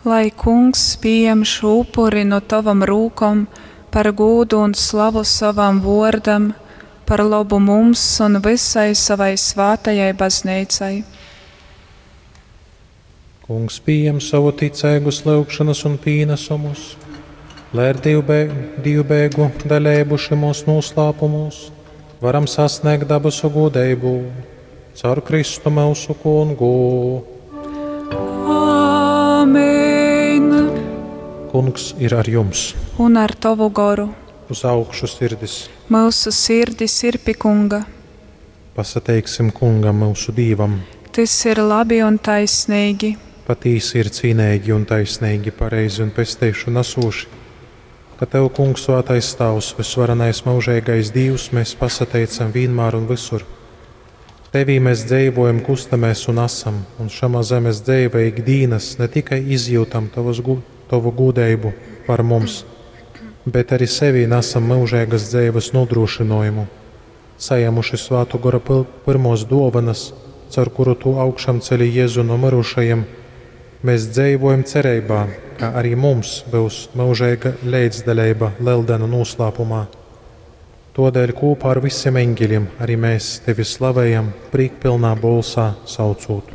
Lai Kungs pījem šū upuri nu tovom rūkom par gūdu un slavu sovam vōrdam, par lobu mums un vysai sovai svātajai Bazneicai. Kungs pījem sovu ticeigus lyugšonas un pīnasumus, lai ar dīvbeigu daleibu šymūs nūslāpumūs varam sasnēgt dabasu gūdeibu. Caur Kristu myusu Kungu. Āmen! Kungs ir ar jums. Un ar tovu goru. Uz augšu sirdis. Myusu sirdis ir pi Kunga. Pasateiksim Kungam, myusu Dīvam. Tys ir labi un taisneigi. Patīsi ir cīneigi un taisneigi, pareizi un pesteišonu nasūši, ka Tev, Kungs, Svātais Tāvs, vysvarenais myužeigais Dīvs, mēs pasateicam vīnmār un visur. Tevī mēs dzeivojam, kustamēs un asam, un šamā zemes dzeivē ik dīnas ne tikai izjūtam tavas gu Tovu gūdeibu par mums, bet arī sevī nesam myužeigas dzeives nodrošinājumu, sajēmuši Svātu Gora pyrmos dōvanas, caur kuru Tu augšām celi Jēzu no myrušajiem, mēs dzeivojam cereibā, ka arī mums byus myužeiga leidzdaleiba Leldenu noslēpumā. Todēļ kopā ar visiem eņģeļiem arī mēs Tevi slavējam, prīkpilnā bolsā saucūt.